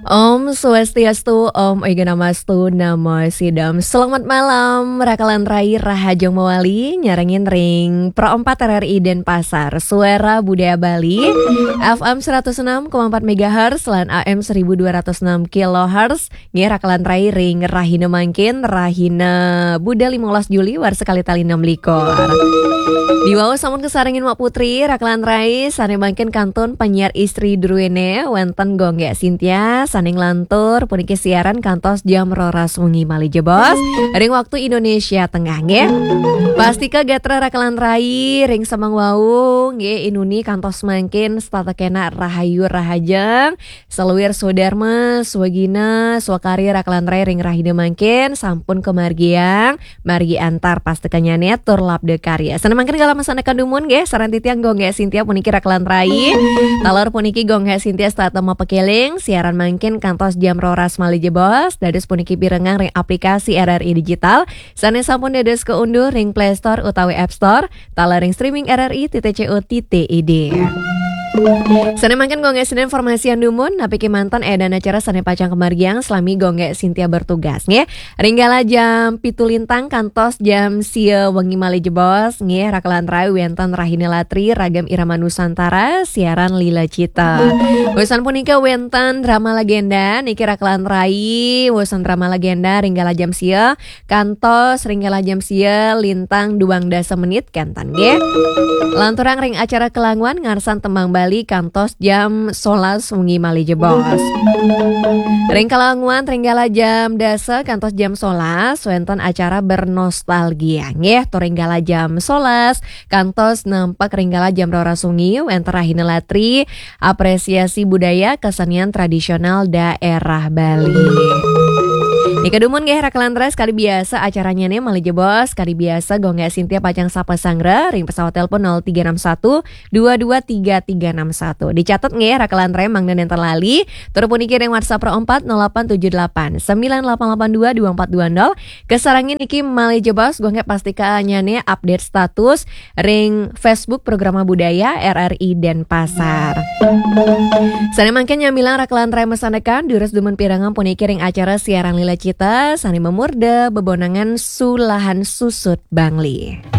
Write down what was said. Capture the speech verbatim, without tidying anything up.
Om Swastiastu, Om Oiganastu, Namo Sidam. Selamat malam, Rakalan Rai, Rahajeng Mawali, nyarengin ring Pro empat R R I Denpasar, Suara Budaya Bali, F M seratus enam koma empat megahertz, lan A M seribu dua ratus enam kilohertz, nggih Rakalan Rai ring rahina mangkin, rahina Buda limolas Juli, warsa kalih tali enam likur. Diwau sampun kasarengin Mak Putri, Rakalan Rai, sane mangkin kantun penyiar istri druene, wenten Gung Gek Sintia, sane nglantur puniki siaran kantos jam roras wengi malih jebos, ring waktu Indonesia Tengah, nggih. Pastika gatra Rakalan Rai, ring semeng wau, nggih, inuni kantos mangkin setata kena rahayu rahajeng, saluir swadarma, swagina, swakarya Rakalan Rai ring rahina mangkin, sampun kamargiang, margi antar pastikanyane tur labda karya. Sane mangkin galah masandekan dumun nggih, sareng titiang Gung Gek Sintia puniki Rakalan Rai. Taler puniki Gung Gek Sintia setata mapakeling, siaran mangkin kantos jam roras malih jebos, dados puniki pirengang ring aplikasi R R I Digital, sane sampun dados kaunduh ring Play Store utawi App Store, taler ring streaming R R I titik C O titik I D. Sane mangkin Gung Gek Sintia informasian dumun, napi kemanten edan acara sane pacang kamargiang, salami Gung Gek Sintia bertugas, nggih. Ring galah jam pitu lintang kantos jam sia wengi malih jebos, nggih, Rakalan Rai wenten Rahina Latri, Ragam Irama Nusantara, siaran Lila Cita. Wusan punika wenten drama legenda, niki Rakalan Rai, wusan drama legenda, ring galah jam sia, kantos ring galah jam sia lintang duang dasa menit kenten, nggih. Lanturang ring acara kelanguan ngarsan tembang Bali kantos jam solas wengi malih jebos. Ring kelanguan ring galah jam dasa kantos jam solas wenten acara bernostalgia, nggih, tur ring galah jam solas kantos nampak ring galah jam roras wengi wenten Rahina Latri, apresiasi budaya kesenian tradisional daerah Bali. Nika dumun nggih Rakalan Rai, kadi biasa acaranyane malih jebos, kadi biasa Gung Gek Sintia pacang sapa sanggra ring pesawat telepon nol tiga enam satu dua dua tiga tiga enam satu. Dicatet nggih Rakalan Rai mangda nenten lali, tur puniki ring WhatsApp Pro empat nol delapan tujuh delapan sembilan delapan delapan dua dua empat dua nol. Kasarengin niki malih jebos, Gung Gek pastika nyane update status ring Facebook Programa Budaya R R I Denpasar. Sane mangkin nyamilang Rakalan Rai masandekan, durus dumun pirengang puniki ring acara siaran Lila Cita, sane mamurda bebonangan Sulahan Susut Bangli.